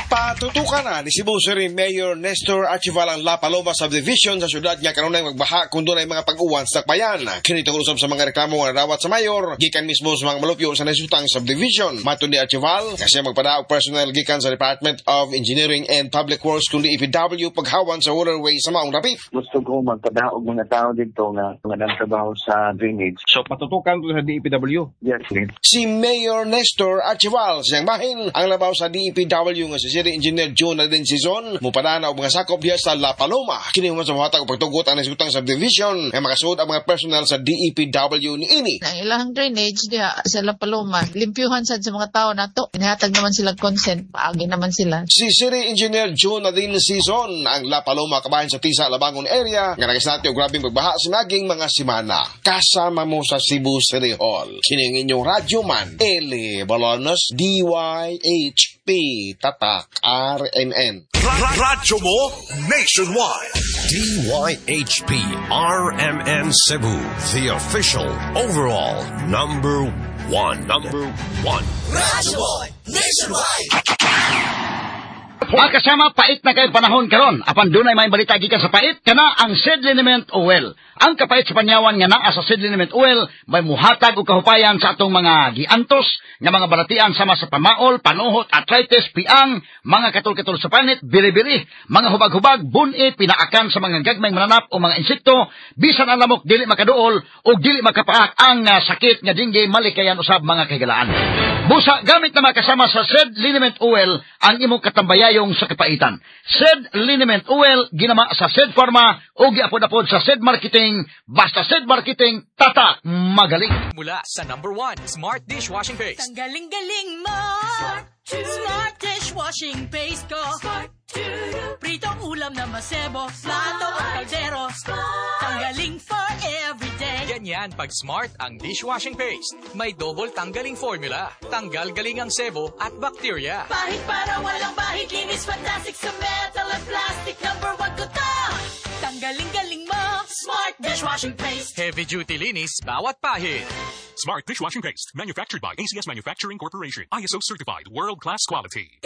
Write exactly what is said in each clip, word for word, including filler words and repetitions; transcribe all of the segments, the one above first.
Patutukan na ni Cebu City Mayor Nestor Archival ang La Paloma Subdivision sa syudad nga kanunay magbaha kung dunay mga pag-uwan sa dakbayan. Kini tungod usab sa mga reklamo nga nadawat sa mayor gikan mismo sa mga malupyo sa nahisgutang subdivision. Matod ni Archival, kasi magpadaog personnel gikan sa Department of Engineering and Public Works kundi D E P W paghawan sa waterway sa maong dapit. Gusto ko magpadaog mga tao dito nga nga nagtrabaho sa drainage. So patutukan to sa D E P W. Yes, please. Si Mayor Nestor Archival sa iyang bahin, ang labaw sa D E P W nga si City Engineer John Nadine Sison mupadana og mga sakop diha sa La Paloma. Kini human sa mohatag og pagtugot ang nahisgutang subdivision nga makasuod ang mga personnel sa D E P W niini. Ang ilang drainage diha sa La Paloma, limpyuhan sad sa mga tao nato. Nihatag naman sila consent, paagi naman sila. Si City Engineer June Nadine Sison. Ang La Paloma kabahin sa Tisa, Labangon area nga nagisnati og grabeng pagbaha sa naging mga semana. Kasama mo sa Cebu City Hall. Kini ang inyong radyo man, Eli Bolonos, D Y H P, Tatak, R M N. Radyo mo nationwide. D Y H P R M N Cebu, the official overall number one. Number one. Radyo mo nationwide. Mga kasama, pait na kayo panahon karon. Apan dunay may balita gikan sa pait kana ang Seed Liniment Oil. Ang kapait sa panyawan nga naa sa Seed Liniment Oil may muhatag og kahupayan sa atong mga giantos nga mga balatian sama sa pamaol, panuhot, arthritis, piang, mga katol-katol sa panit, biri-biri, mga hubag-hubag, buni, pinaakan sa mga gagmayng mananap o mga insekto, bisan ang lamok dili makaduol o dili makapaak. Ang ah, sakit nga dengue malikayan usab, mga kahigalaan. Busa gamit na makasama sa Seed Liniment Oil ang imong katambayayong sa kapaitan. Seed Liniment Oil, ginama sa Seed Pharma o giapod-apod sa Seed Marketing. Basta Seed Marketing, tatak magaling. Mula sa number one, Smart Dishwashing Paste. Tanggaling-galing mo! Smart Dishwashing Paste ko. Pritong ulam na masebo, plato at kaldero. Tanggaling for everyday. Ganyan pag Smart ang dishwashing paste. May double tanggaling formula. Tanggal galing ang sebo at bakterya. Pahit para walang bahid, linis fantastic sa metal at plastic. Number one ko to! Tanggaling-galing mo! Smart Dishwashing Paste. Heavy duty linis bawat pahid. Smart Dishwashing Paste. Manufactured by A C S Manufacturing Corporation. I S O certified. World-class quality.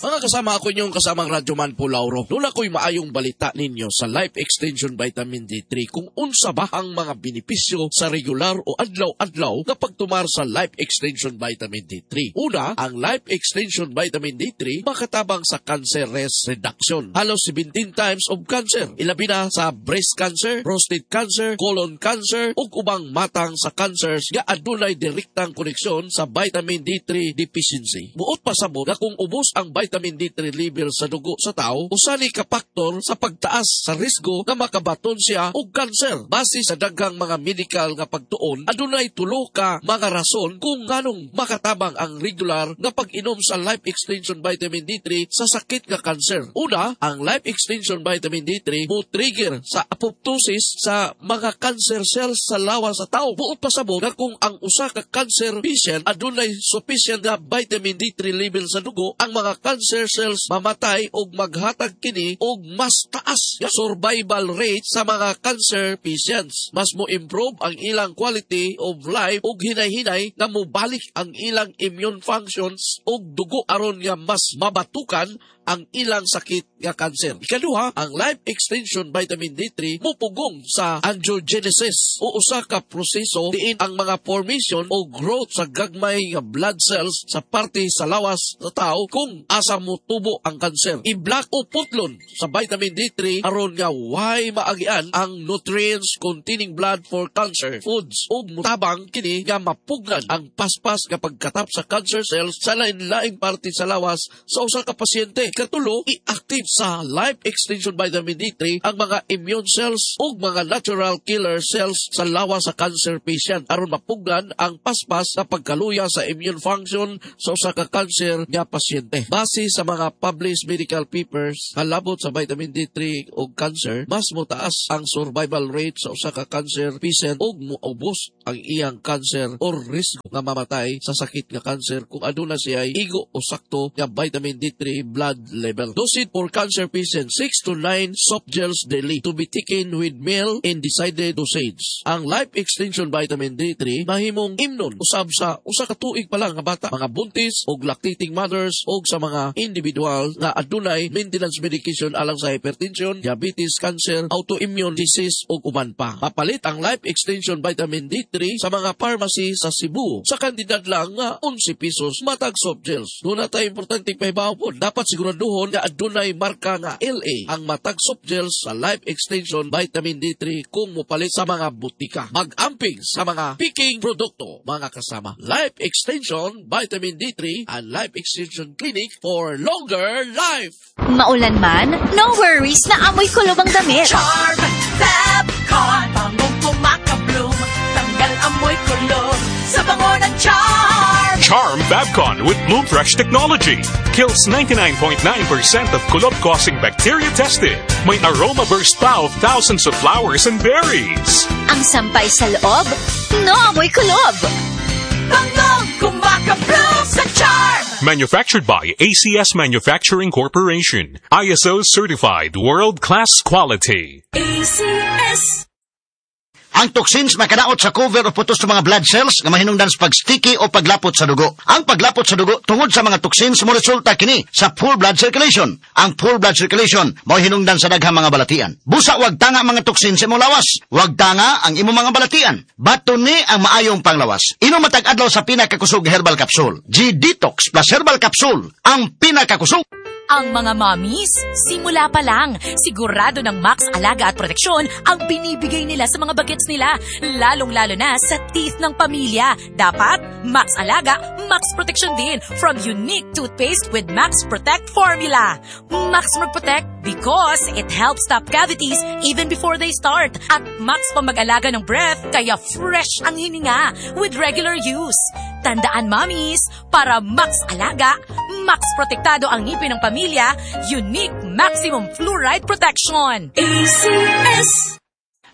Mga kasama, ako inyong kasamang Radyoman po Lauro. Duna ko'y maayong balita ninyo sa Life Extension Vitamin D three kung unsa ba ang mga benepisyo sa regular o adlaw-adlaw na pagtumar sa Life Extension Vitamin D three. Una, ang Life Extension Vitamin D three makatabang sa cancer risk reduction. Halos seventeen times of cancer. Ilabi na sa breast cancer, prostate cancer, colon cancer, ug ubang matang sa cancers nga adunay direktang koneksyon sa vitamin D three deficiency. Buot pasabot nga kung ubos ang vitamin D three level sa dugo sa tao, usa ni ka faktor sa pagtaas sa risgo nga makabaton siya og cancer. Base sa daghang mga medical nga pagtuon, adunay tulo ka mga rason kung nganong makatabang ang regular nga pag-inom sa Life Extension Vitamin D three sa sakit nga cancer. Una, ang Life Extension Vitamin D three mo trigger sa apoptosis sa mga cancer cells sa lawas sa tao. Buot pasabot nga kung ang usa ka cancer patient adunay sufficient nga vitamin D three level sa dugo, ang mga cancer cells mamatay og maghatag kini og mas taas nga survival rate sa mga cancer patients. Mas mo improve ang ilang quality of life ug hinay-hinay nga mobalik ang ilang immune functions ug dugo aron nga mas mabatukan ang ilang sakit nga cancer. Ikaduha, ang Life Extension Vitamin D three mupugong sa angiogenesis o usa ka proseso diin ang mga formation o growth sa gagmay nga blood cells sa parte sa lawas sa tao kung asa motubo ang cancer. I-block o putlon sa vitamin D three aron nga way maagian ang nutrients containing blood for cancer foods ug mutabang kini nga mapugnan ang paspas nga pagkatap sa cancer cells sa lain-laing parte sa lawas sa usa ka pasyente. Katulo, i-active sa Life Extension Vitamin D three ang mga immune cells ug mga natural killer cells sa lawas sa cancer patient aron mapugnan ang paspas sa pagkaluya sa immune function sa usa ka cancer nga pasyente. Base sa mga published medical papers kalabot sa vitamin D three ug cancer, mas motaas ang survival rate sa usa ka cancer patient ug moubos ang iyang cancer or risk nga mamatay sa sakit nga cancer kung aduna siya igo o sakto nga vitamin D three blood blood level. Dosage for cancer patients, six to nine soft gels daily to be taken with meal in decided dosage. Ang Life Extension Vitamin D three mahimong imnon usab sa usa ka tuig pa lang nga bata, mga buntis og lactating mothers og sa mga individual nga adunay maintenance medication alang sa hypertension, diabetes, cancer, autoimmune disease ug uban pa. Mapalit ang Life Extension Vitamin D three sa mga pharmacy sa Cebu sa kantidad lang nga onse pesos matag soft gels. Duna tay importante pahibaw po. Dapat siguraduhon nga adunay marka nga L A ang matag soft gels sa Life Extension Vitamin D three kung mopalit sa mga butika. Mag-amping sa mga piking produkto, mga kasama. Life Extension Vitamin D three and Life Extension Clinic for longer life. Maulan man, no worries na amoy kulob ang damit. Charm Fabcon, bangong kumakabloom, tanggal amoy kulob sa bango ng Charm. Charm Fabcon with Bloom Fresh technology kills ninety-nine point nine percent of kulob-causing bacteria tested. May aroma burst pa of thousands of flowers and berries. Ang sampay sa loob, no amoy kulob. Bangong kumakabloom sa Charm. Manufactured by A C S Manufacturing Corporation. I S O certified world-class quality. A C S. Ang toxins makadaot sa cover o putos sa mga blood cells nga mahinungdan sa pag-sticky o paglapot sa dugo. Ang paglapot sa dugo tungod sa mga toxins mo resulta kini sa poor blood circulation. Ang poor blood circulation mao hinungdan sa daghang mga balatian. Busa wag tanga mga toxins sa imong lawas. Wag tanga ang imong mga balatian. Bato ni ang maayong panglawas. Inom matag adlaw sa pinakakusog herbal capsule. G-Detox Plus Herbal Capsule, ang pinakakusog. Ang mga mommies, simula pa lang, sigurado ng Max Alaga at Proteksyon ang binibigay nila sa mga bagets nila. Lalong-lalo na sa teeth ng pamilya. Dapat, Max Alaga, Max Protection din from unique toothpaste with Max Protect formula. Max Protect because it helps stop cavities even before they start. At Max pa mag-alaga ng breath, kaya fresh ang hininga with regular use. Tandaan, mommies, para Max Alaga, Max Protektado ang ngipin ng pamilya, unique maximum fluoride protection. A C S.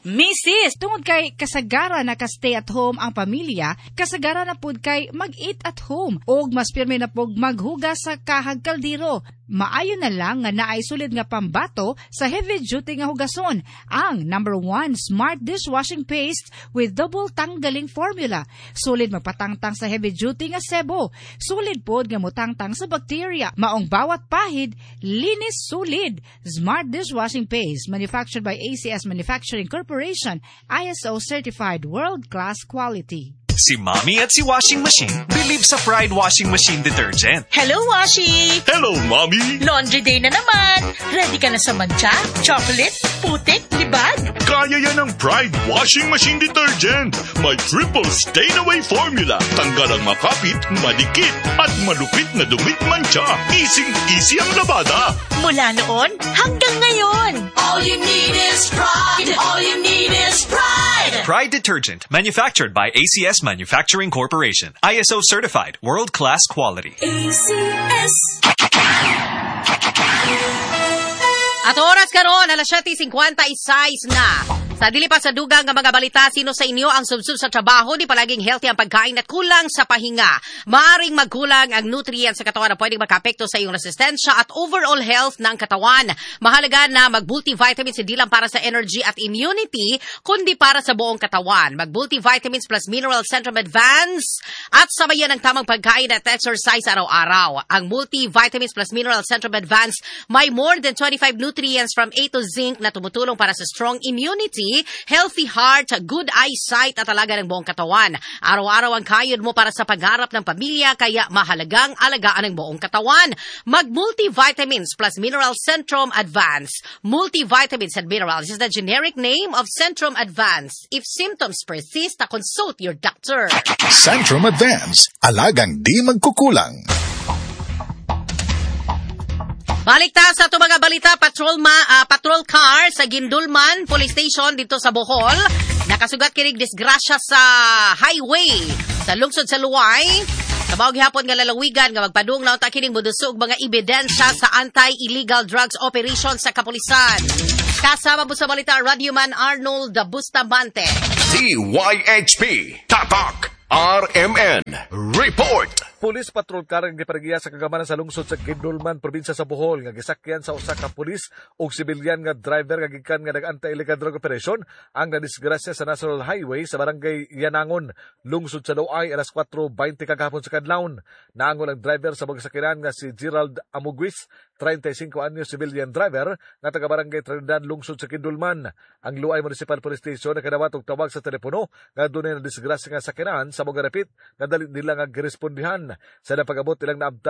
Missus, tungod kay kasagara na ka-stay at home ang pamilya, kasagara na pud kay mag-eat at home og mas pirmi na pug maghugas sa kahag kaldero. Maayo na lang nga naay sulid nga pambato sa heavy duty nga hugason, ang number one Smart dishwashing paste with double tanggaling formula. Solid magpatangtang sa heavy duty nga sebo. Solid pod nga mutangtang sa bacteria. Maong bawat pahid, linis solid. Smart dishwashing paste manufactured by A C S Manufacturing Corporation, I S O certified world-class quality. Si Mommy at si Washing Machine believe sa Pride Washing Machine Detergent. Hello, Washi! Hello, Mommy! Laundry day na naman! Ready ka na sa mantsa, chocolate, putik, libag? Kaya yan ang Pride Washing Machine Detergent. May triple stain-away formula. Tanggal ang makapit, madikit, at malupit na dumi't mantsa. Easy-easy ang labada. Mula noon hanggang ngayon. All you need is Pride. All you need is Pride. Pride Detergent, manufactured by A C S Manufacturing Corporation. I S O certified, world-class quality. A C S. At oras karon, alas siyete singkwenta y sais na. Sa dili pa sa dugang nga mga balita, sino sa inyo ang subsub sa trabaho, di palaging healthy ang pagkain at kulang sa pahinga? Maaring magkulang ang nutrients sa katawan na pwedeng makaapekto sa iyong resistensya at overall health ng katawan. Mahalaga na mag-multivitamins hindi lang para sa energy at immunity, kundi para sa buong katawan. Mag-multivitamins plus Mineral Centrum Advance at sabayan ng tamang pagkain at exercise araw-araw. Ang multivitamins plus Mineral Centrum Advance may more than twenty-five nutrients from A to zinc na tumutulong para sa strong immunity, healthy heart, good eyesight at alaga ng buong katawan. Araw-araw ang kayod mo para sa pagharap ng pamilya, kaya mahalagang alagaan ang buong katawan. Mag-multivitamins plus Mineral Centrum Advance. Multivitamins and minerals is the generic name of Centrum Advance. If symptoms persist, consult your doctor. Centrum Advance, alagang di magkukulang. Balik ta sa ato mga balita, patrol, ma, ah, patrol car sa Guindulman Police Station dito sa Bohol. Nakasugat kinig disgrasya sa highway sa lungsod sa Loay. Sa mao gihapon nga lalawigan nga magpadung na unta kining modusog mga ebidensya sa anti-illegal drugs operation sa kapulisan. Kasama mo sa balita, Radyoman Arnold Bustamante. D Y H P Tatak R M N Report. Police patrol car ang gipargiya sa kagamanan sa lungsod sa Guindulman, probinsya sa Bohol, nga gisakyan sa usa ka pulis ug sibilyan nga driver nga gikan nga nag-anti-illegal drug operation ang nadisgrasya sa National Highway sa barangay Yanangon, lungsod sa Loay, alas kwatro baynte kagahapon sa kadlawon. Naangol ang driver sa mga sakyanan nga si Gerald Amuguis, trentay singko anyos, civilian driver nga taga barangay Trinidad, lungsod sa Guindulman. Ang Loay Municipal Police Station nakadawat og tawag sa telepono nga dunay nadisgrasya nga sakyanan sa mga rapit nga dali nila nga girespondihan. Sa napag-abot, ilang naabtan